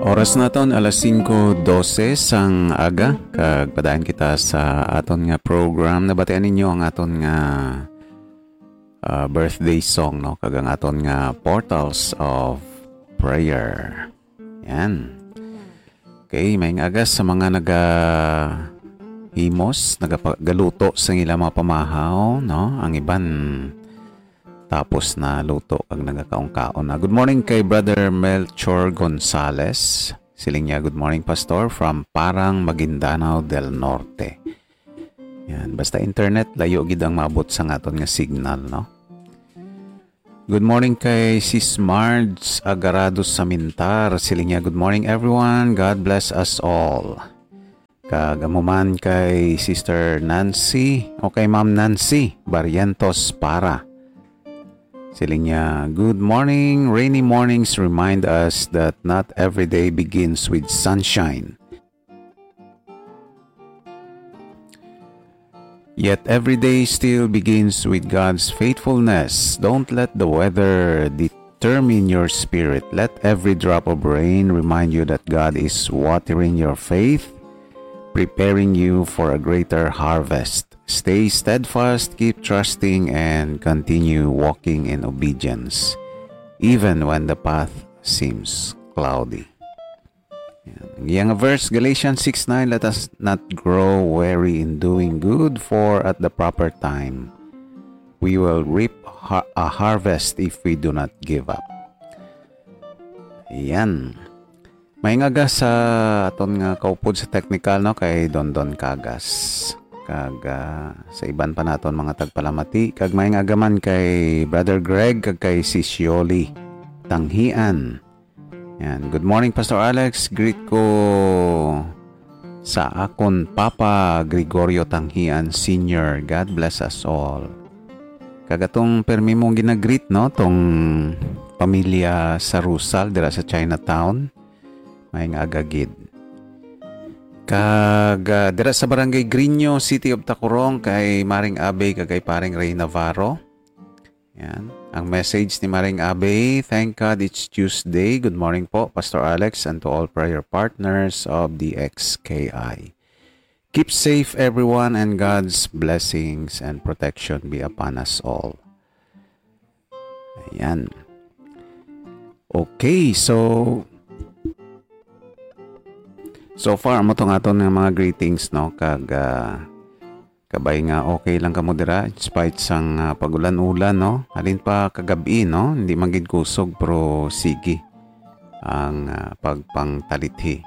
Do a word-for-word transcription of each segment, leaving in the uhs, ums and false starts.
Oras naton alas singko dose sang aga, kag padayon kita sa aton nga program. Nabatian ninyo ang aton nga, ah, birthday song, no? Kag ang aton nga Portals of Prayer. Yan. Okay, maayong aga sa mga nagahimos, nagapa-, galuto sa ilang mga pamahaw, no? Ang iban tapos na luto kag nagakaon-kaon na. Good morning kay Brother Melchor Gonzales. Siling niya, "Good morning, Pastor, from Parang, Maguindanao del Norte." Yan, basta internet, layo gid ang maabot sa aton nga signal, no? Good morning kay Sis Marge Agarado Samintar. Siling niya, "Good morning, everyone. God bless us all." Kag amo man kay Sister Nancy o kay Ma'am Nancy Barrientos Para. Siling niya, "Good morning. Rainy mornings remind us that not every day begins with sunshine. Yet every day still begins with God's faithfulness. Don't let the weather determine your spirit. Let every drop of rain remind you that God is watering your faith, preparing you for a greater harvest. Stay steadfast, keep trusting, and continue walking in obedience, even when the path seems cloudy." Yan. Ang iyang verse, Galatians six nine, "Let us not grow weary in doing good, for at the proper time we will reap har- a harvest if we do not give up." Yan. Maayong aga sa aton nga kaupod sa technical, no, kay Dondon Cagas. Kag, ah, sa iban pa naton mga tagpalamati. Kag maayong aga man kay Brother Greg kag kay Sis Yoli Tanghian. Yan. "Good morning, Pastor Alex. Greet ko sa akon Papa Gregorio Tanghian Senior. God bless us all." Kag atong permi mong ginagreet, no? Tong pamilya sa Rusal, dira sa Chinatown. Maayong aga gid. Kag, ah, dira sa Barangay Grino, City of Tacurong, kay Maring Abe kag kay Paring Ray Navarro. Yan. Ang message ni Maring Abe, "Thank God it's Tuesday. Good morning po, Pastor Alex, and to all prayer partners of the X K I. Keep safe, everyone, and God's blessings and protection be upon us all." Ayan. Okay, so, so far, amo tong aton nga mga greetings, no? Kag, ah, kabay nga okay lang kamo dira, in spite sang, ah, pag-ulan-ulan, no? Halin pa kagab-i, no? Hindi man gid kusog, pero sige ang, ah, pagpangtalithi.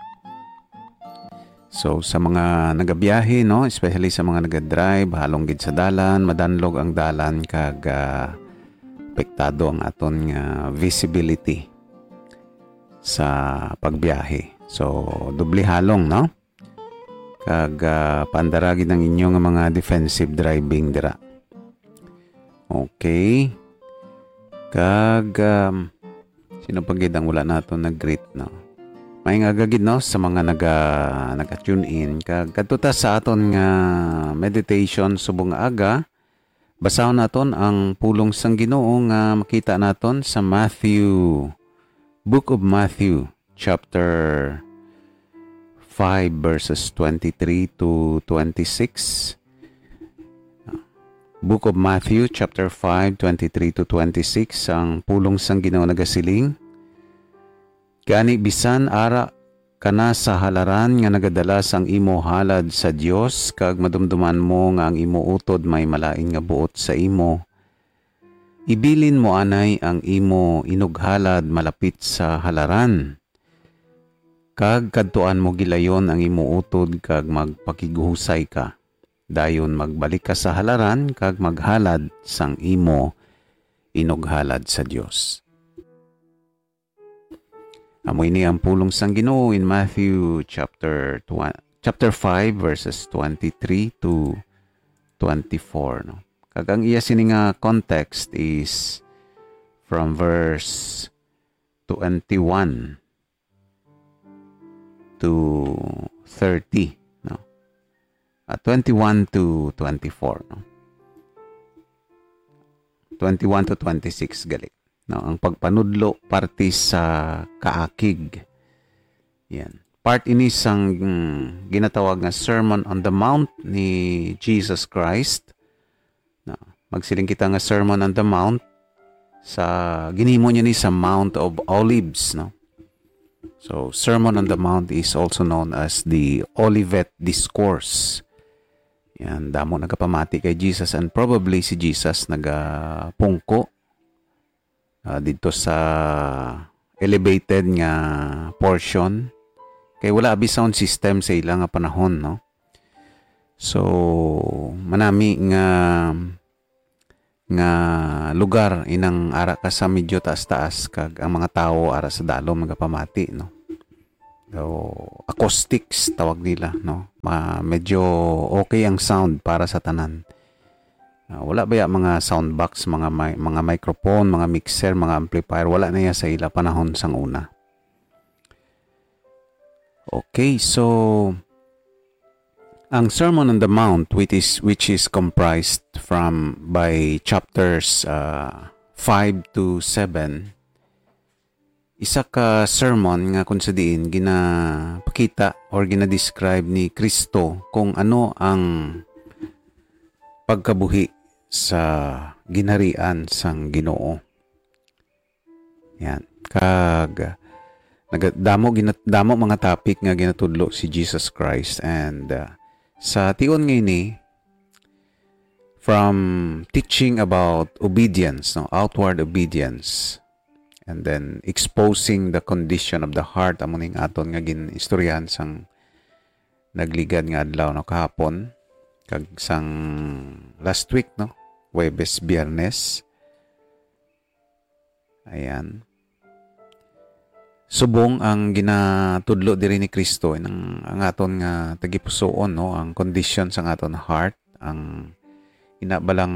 So, sa mga nagabiyahe, no, especially sa mga nagadrive, halong gid sa dalan, madanlog ang dalan, kag, ah, apektado ang aton nga visibility sa pagbiyahe. So, doble halong, no? Kag, ah, paandara gid ang inyo nga mga defensive driving dira. Okay. Kag, um, sino pa gid ang wala nato nag-greet, no? Maayong aga gid, no, sa mga naga-, naga-tune in. Kag kadto ta sa aton nga meditation subong nga aga, basahon naton ang pulong sang Ginoo nga makita naton sa Matthew, Book of Matthew, chapter five, verses twenty-three to twenty-six. Book of Matthew, chapter five, twenty-three to twenty-six, ang pulong sang Ginoo nagasiling, "Gani, bisan ara ka na sa halaran nga nagadala sang imo halad sa Dios, kag madumduman mo nga ang imo utod may malain nga buot sa imo, ibilin mo anay ang imo inughalad malapit sa halaran, kag kadtuan mo gilayon ang imo utod kag magpakighusay ka. Dayon magbalik ka sa halaran kag maghalad sang imo inughalad sa Dios." Amo ini ang pulong sang Ginoo in Matthew chapter tw-, chapter five, verses twenty-three to twenty-four, no? Kag ang iya sini nga context is from verse twenty-one to thirty, no? Ah, twenty-one to twenty-four, no? Twenty-one to twenty-six gali, no? Ang pagpanudlo parte sa kaakig. Yan. Part ini sang, mm, ginatawag nga Sermon on the Mount ni Jesus Christ. Na, magsiling kita nga Sermon on the Mount sa ginhimo niya ni sa Mount of Olives, no? So, Sermon on the Mount is also known as the Olivet Discourse. Yan, damo nagapamati kay Jesus, and probably si Jesus nagapungko, ah, dito sa elevated nga portion. Kay wala abi sound system sa ila nga panahon, no? So, manami nga, nga lugar inang ara ka sa medyo taas-taas, kag ang mga tawo ara sa dalom nagapamati, no? So, acoustics tawag nila, no? Ma-, medyo okay ang sound para sa tanan. Ah, wala baya mga sound box, mga mi-, mga microphone, mga mixer, mga amplifier? Wala na ya sa ila panahon sang una. Okay, so ang Sermon on the Mount, which is, which is comprised from, by chapters, uh, five to seven, isa ka sermon nga kung sa diin ginapakita or ginadescribe ni Kristo kung ano ang pagkabuhi sa ginharian sang Ginoo. Yan. Kag naga-, damo gina-, damo mga topic nga ginatudlo si Jesus Christ, and, uh, sa tion nga ini, from teaching about obedience, no, outward obedience, and then exposing the condition of the heart, amo ning aton nga gin-istoryahan sang nagligad nga adlaw, no, kahapon, kag sang last week, no, Huwebes, Biyernes. Ayan. Subong ang ginatudlo diri ni Kristo, ang, ang aton nga tagipusoon, no, ang condition sang aton heart, ang ina ba lang,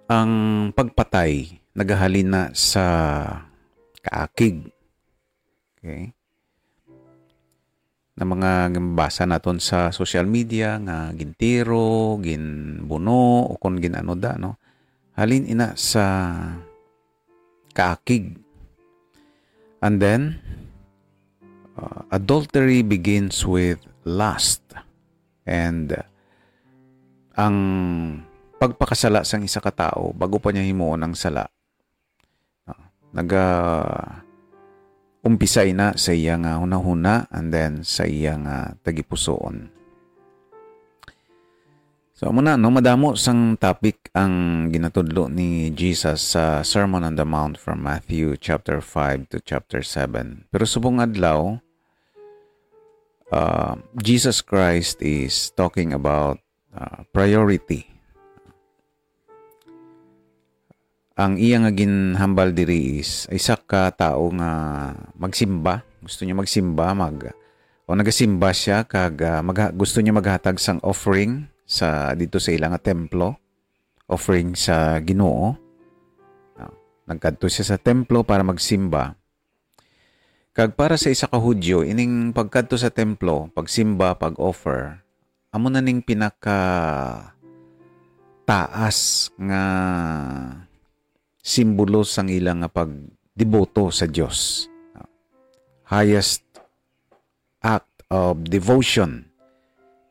ang pagpatay nagahalin na sa kaakig. Okay? Na mga ginbasa naton sa social media nga gintiro, ginbuno, o kon gin-ano da, no? Halin ina sa kaakig. And then, uh, adultery begins with lust. And, uh, ang pagpakasala sang isa ka tawo, bago pa niya himuon ang sala, ah, naga-, umpisa ina sa iya nga hunahuna and then sa iya nga tagipusoon. So, amo na, no, madamo sang topic ang ginatudlo ni Jesus sa Sermon on the Mount from Matthew chapter five to chapter seven. Pero subong adlaw, uh, Jesus Christ is talking about, uh, priority. Ang iya nga ginhambal diri is isa ka tawo nga magsimba, gusto niya magsimba, mag-, o nagasimba siya kag, ah, magha-, gusto niya maghatag sang offering sa, dito sa ila nga templo, offering sa Ginoo. Ah, nagkadto siya sa templo para magsimba. Kag para sa isa ka Hudiyo, ining pagkadto sa templo, pagsimba, pag-offer, amo na ning pinaka taas nga simbolo sang ila nga pagdeboto sa Dios. Highest act of devotion,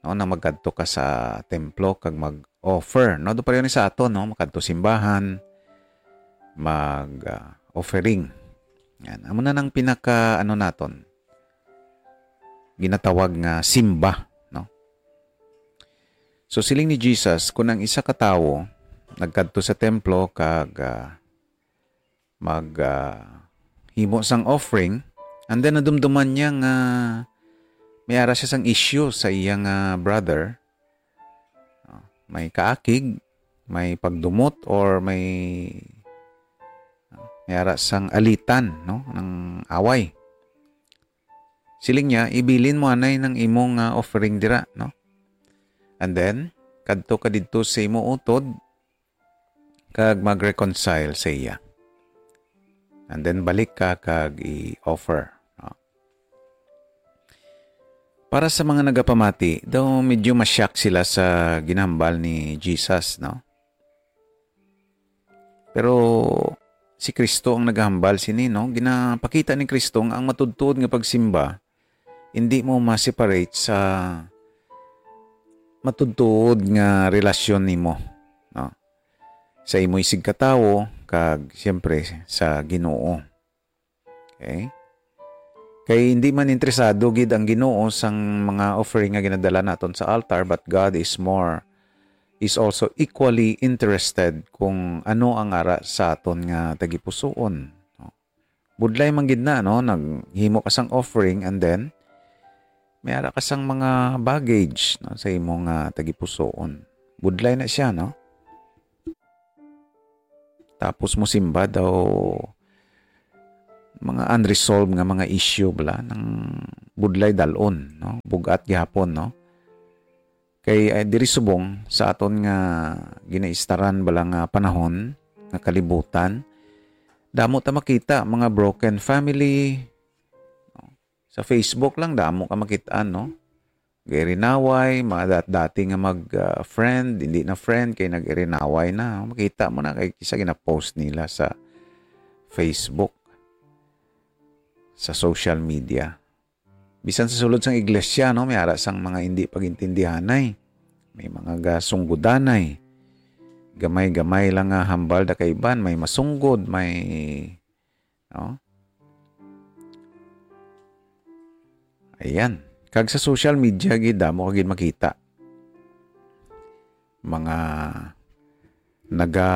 no, na magkadto ka sa templo kag mag-offer, no? Do pareho ni sa aton, no? Makadto simbahan, mag, ah, offering. Yan. Amo na nang pinaka, ano naton, ginatawag nga simba, no? So, siling ni Jesus, kung ang isa ka tawo nagkadto sa templo kag, ah, mag, ah, himo sang offering, and then nadumduman niya nga may ara siya sang issue sa iya nga brother, ah, may kaakig, may pagdumot, or may, ah, may ara sang alitan, no, ng away. Siling niya, "Ibilin mo anay ng imong, ah, offering dira," no? And then, kadto ka didto sa imo utod, kag mag-reconcile sa iya. And then, balik ka kag i-offer, no? Para sa mga nagapamati, daw medyo ma-shock sila sa ginhambal ni Jesus, no? Pero si Kristo ang nagahambal sini, no? Ginapakita ni Kristo nga ang matuod-tuod nga pagsimba hindi mo ma-separate sa matuod-tuod nga relasyon nimo, no? Sa imo isigkatawo kag siyempre sa Ginoo. Okay? Kay hindi man interesado gid ang Ginoo sang mga offering nga ginadala naton sa altar, but God is more, is also equally interested kung ano ang ara sa aton nga tagipusoon, no? Budlay man gid na, no? Naghimo ka sang offering and then may ara ka sang mga baggage, no, sa imo nga tagipusoon. Budlay na siya, no? Tapos mo simba daw mga unresolved nga mga issue bala nang budlay dalon, no? Bugat gihapon, no? Kay, eh, diri subong sa aton nga ginaistaran bala nga panahon, nga kalibutan, damo ta makita mga broken family, no? Sa Facebook lang damo ka makit-an, no? Gairinaway, mga dat-, dati nga mag, ah, friend, hindi na friend, kay nag-irinaway na. Makita mo na kay kisa gina-post nila sa Facebook, sa social media. Bisan sa sulod sang iglesia, no, may ara sang mga hindi pagintindihanay. May mga gasunggodanay. Gamay-gamay lang nga hambal da kaiban, may masunggod, may, no? Ayan. Kag sa social media, gid, damo ka gid makita. Mga naga,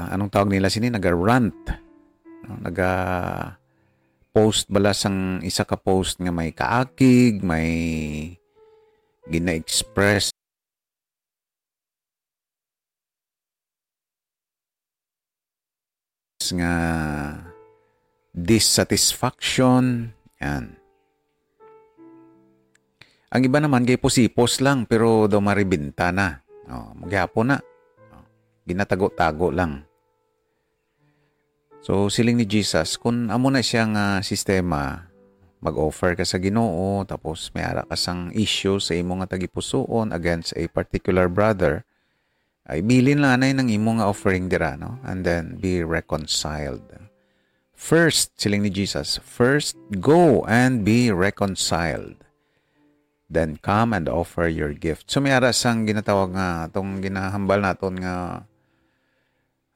anong tawag nila sini? Naga-rant. No? Naga-post bala sang isa ka post nga may kaakig, may gina-express nga dissatisfaction. Yan. Ang iba naman kay pusipos lang, pero daw maribinta na. Oh, magyapon na. Oh, ginatago-tago lang. So, siling ni Jesus, kung amo na siya nga sistema, mag-offer ka sa Ginoo, tapos may ara ka sang issue sa imo nga tagipusoon against a particular brother, ay bilin lang anay nang imo nga offering dira, no? And then be reconciled. First, siling ni Jesus, "First, go and be reconciled. Then come and offer your gift." So, may ara sang ginatawag nga, atong ginahambal naton nga,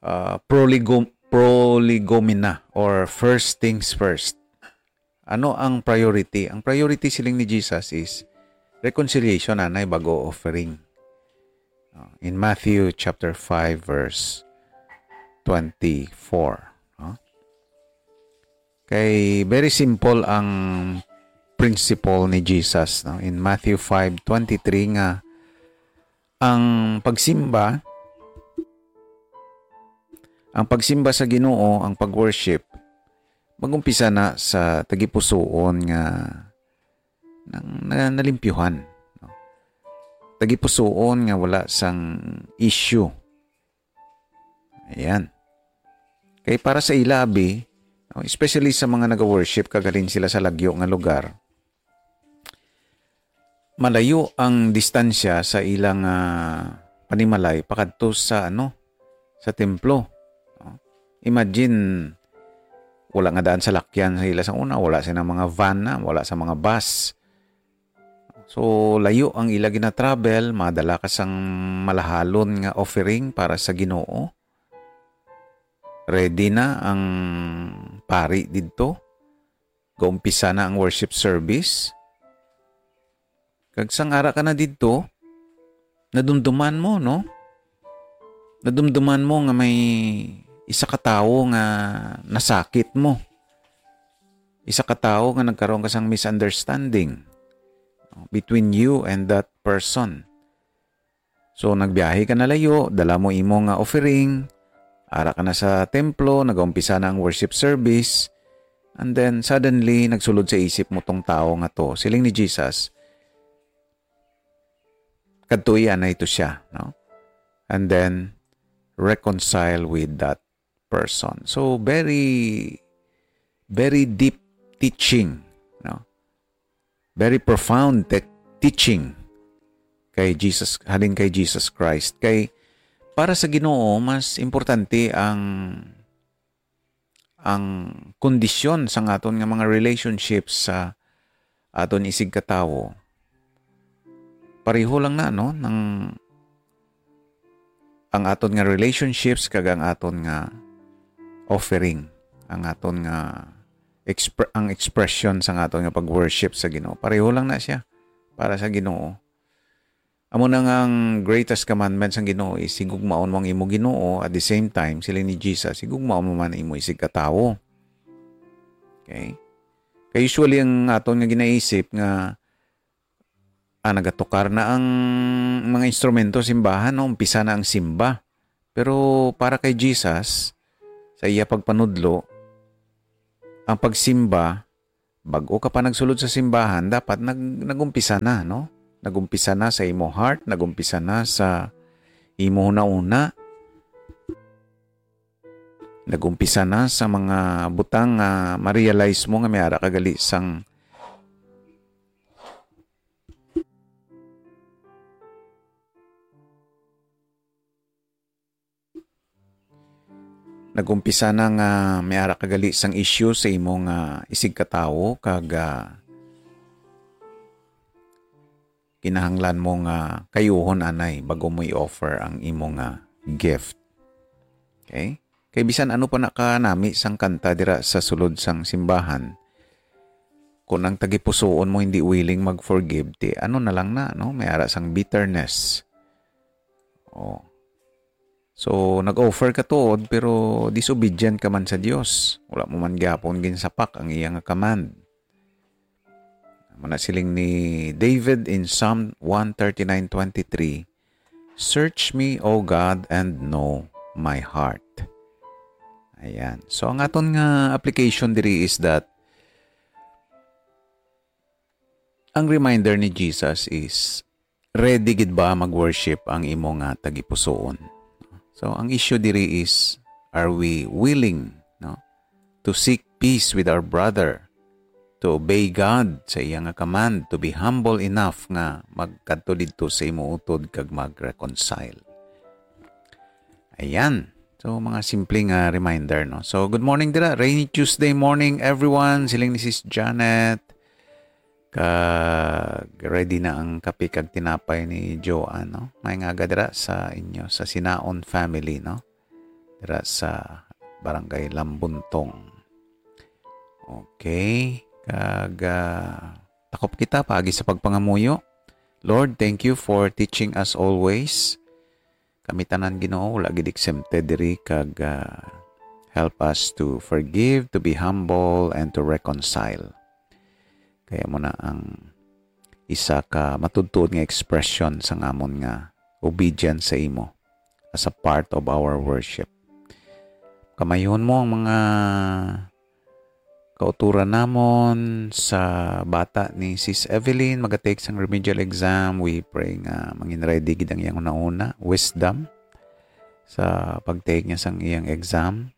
ah, prolegom-, prolegomena, or first things first. Ano ang priority? Ang priority, siling ni Jesus, is reconciliation, anay, bago offering. Uh, in Matthew chapter five, verse twenty-four, no? Kay very simple ang principle ni Jesus, no? In Matthew five twenty-three nga ang pagsimba, ang pagsimba sa Ginoo, ang pag-worship, mag-umpisa na sa tagipusoon nga nang, na, nalimpyuhan, no? Tagipusoon nga wala sang issue. Ayan. Kay para sa ila, abi, no, especially sa mga naga-worship kag halin sila sa lagyo nga lugar, malayo ang distansya sa ilang, ah, panimalay pakadto sa, ano, sa templo. No? Imagine, wala nga daan salakyan sa ila sa una, wala sila mga van na, wala sa mga bus. So, layo ang ila gina-travel, madala ka sang malahalon nga offering para sa Ginoo. Ready na ang pari didto. Gaumpisa na ang worship service. Kag sang ara ka na didto, nadumduman mo, no? Nadumduman mo nga may isa ka tawo nga nasakit mo. Isa ka tawo nga nagkaroon ka sang misunderstanding between you and that person. So, nagbiyahe ka na layo, dala mo imo nga offering, ara ka na sa templo, nagaumpisa na ang worship service, and then suddenly, nagsulod sa isip mo tong tawo nga to. Siling ni Jesus, "Kadtoi anay to siya," no? And then, reconcile with that person. So, very, very deep teaching, no? Very profound te-, teaching kay Jesus, halin kay Jesus Christ. Kay para sa Ginoo, mas importante ang ang kondisyon sang aton nga mga relationships sa aton isigkatawo. Pareho lang na, no, nang ang aton nga relationships kag ang aton nga offering, ang aton nga expre-, ang expression sang aton nga pag-worship sa Ginoo. Pareho lang na siya para sa Ginoo. Amo na nga ang greatest commandment sang Ginoo is higugmaon mo ang imo Ginoo, at the same time, siling ni Jesus, higugmaon mo man ang imo isigkatawo. Okay? Kay usually ang aton nga ginaisip nga, ah, nagatukar na ang mga instrumento sa simbahan, no? Umpisa na ang simba. Pero para kay Jesus, sa iya pagpanudlo, ang pagsimba, bag-o ka pa nagsulod sa simbahan, dapat nag-, nag-umpisa na, no? Nag-umpisa na sa imo heart, nag-umpisa na sa imo hunahuna, nag-umpisa na sa mga butang nga ma-realize mo nga may ara ka gali sang Nag-umpisa na nga may ara ka gali sang issue sa imo nga isigkatawo kag, ah, kinahanglan mo nga kayuhon anay bago mo i-offer ang imo nga gift. Okay? Kay bisan ano pa na kanami sang kanta dira sa sulod sang simbahan, kung ang tagipusoon mo hindi willing mag-forgive, ti ano na lang na, no? May ara sang bitterness. Oh. So, nag-offer ka tuod, pero disobedient ka man sa Dios. Wala mo man gyapon ginsapak ang iya nga command. Amo na siling ni David in Psalm one thirty-nine twenty-three, "Search me, O God, and know my heart." Ayan. So, ang aton nga application diri is that ang reminder ni Jesus is, ready gid ba mag-worship ang imo nga tagipusoon? So, ang issue diri is, are we willing, no, to seek peace with our brother, to obey God sa iya nga command, to be humble enough nga magkadto didto sa imo utod kag mag-reconcile? Ayan. So, mga simple nga reminder, no? So, good morning dira. Rainy Tuesday morning, everyone. Siling ni Sis Janet. Kag ready na ang kape kag tinapay ni Joanne, no? Maayong aga dira sa inyo, sa Sinaon family, no? Dira sa Barangay Lambuntong. Okay. Kag, ah, takop kita paagi sa pagpangamuyo. Lord, thank you for teaching us always. Kami tanan, Ginoo, wala gid exempted diri, kag, ah, help us to forgive, to be humble, and to reconcile. Kaya mo na ang isa ka matuod-tuod nga expression sang amon nga obedience sa imo as a part of our worship. Kamayuhon mo ang mga kauturan namon sa bata ni Sis Evelyn, maga-take sang remedial exam. We pray nga mangin ready gid ang iyang hunahuna, wisdom sa pag-take niya sang iyang exam.